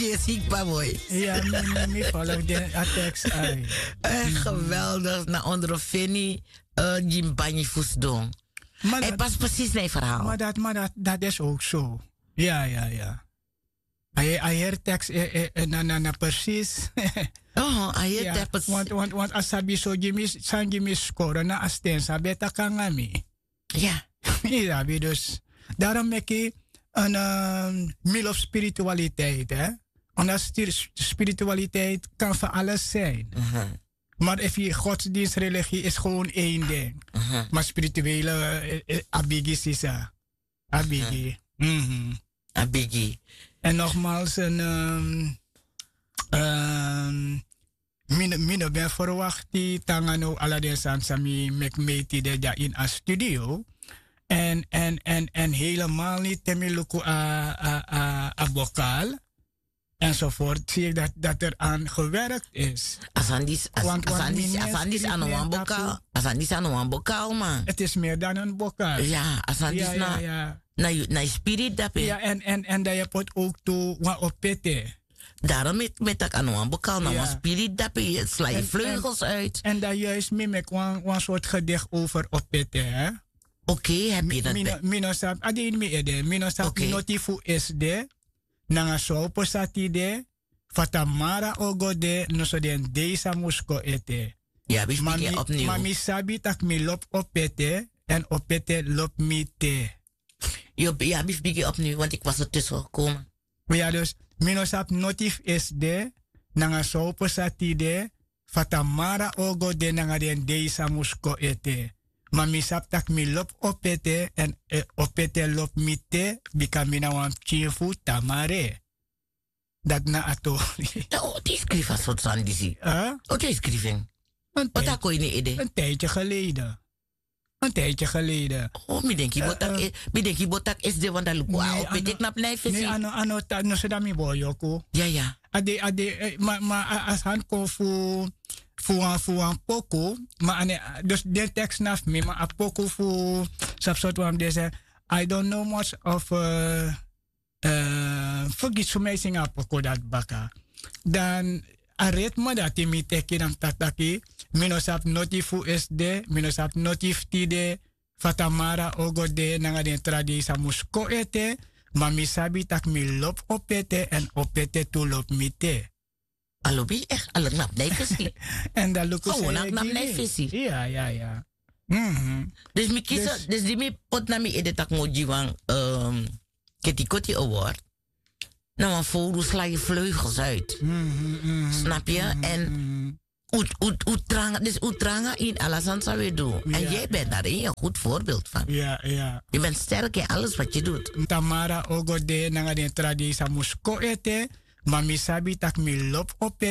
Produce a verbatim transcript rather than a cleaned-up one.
Yu e si kba boi. Ya, mi mi mi follow den a tekst ai. Geweldig na ondro feni. Gi mi banyi fu sidon. Èn pasi presis na yu verhaal. Ma dati ma dati dati is ouk so. Ya ya ya. A heri tekst na na na presis. Oho a heri tekst. Want a sabi so gi mi san gi mi skoro na a sten san ben e taki nanga mi. Ya. Yu sabi dus. Darom meki en mi lobi spiritualiteit. Omdat spiritualiteit kan fu alles zijn. Maar efu yu godsdienstreligie is gewoon een ding. Maar spirituele a bigi sisa. A bigi. A bigi. En nogmaals en mi no ben verwakti tanga no ala den sani san mi meki meti de dya ini a studio. En en en en helemaal niti te mi luku a a a bokaal. Enzovoort zie ik dat dat er aan gewerkt is. A sani disi a sani disi a no wan bokaal. A sani disi a no wan bokaal man. Het is meer dan en bokaal. Ya a sani disi na na yu spirit dape. Ya en en en dan yu poti ook tu wan opete. Darom mi taki a no wan bokaal na wan spirit dape yu sla yu vleugels uit. En dan juist mi meki wan wan soort gedicht over opete hè. Oké heb yu dat? Mi no sabi a de ini mi ede mi no sabi noti fu esde. Nanga so opo sati de. Fa tamara ogo de noso den dei san mus kon ete. Ma mi sabi tak' mi lobi opete èn opete lobi mi te. Yu abi fu bigin opniw wanti kwasi o tusu o koma. Ya dus mi no sabi noti fu esi de nanga so opo sati de. Fa tamara ogo de nanga den dei san mus kon ete. Ma mi sabi tak' mi lobi opete èn opete lobi mi te. Bika mi na wan pikin fu tamare. Dati na a tori. Dan o te yu skrifi a sortu sani disi? O te yu skrifi en? O te a kon ini yu ede? An tijdye geleden. An tijdye geleden. Mi denki yu bo taki esi de wan dan luku a o peti knapu na yu fesi. A no so dan mi bo yoku. Ya ya. A de a de ma a sani kon fu wan fu wan poku. Ma a ne dus den teks na fu mi ma a poku fu sabi sortu wan mi de se. I don't know much of fergiti fu mi e singi a poko dati baka. Dan a ritme dati mi teki dan mi taki taki mi no sabi noti fu esde mi no sabi noti fu tide. Fa tamara ogo de nanga den tra dei san mus kon ete. Ma mi sabi tak' mi lobi opete èn opete tu lobi mi te. A lobi yu eki a lobi na abi na yu fesi. Èn dan luku san yu e gi mi. Ya ya ya. Dus mi kisi dus di mi poti na mi ede tak' mi o gi wan keti koti award. Na wan fowru sla yu vleugels uit. Snapu yu èn un tranga dus un tranga ini ala sani san wi e du. Èn yu e ben dari yu en gud voorbeeld fan. Yu ben sterk ini alles wat yu du. Tamara ogo de nanga den tra dei san mus kon ete. Ma mi sabi tak' mi lobi ope.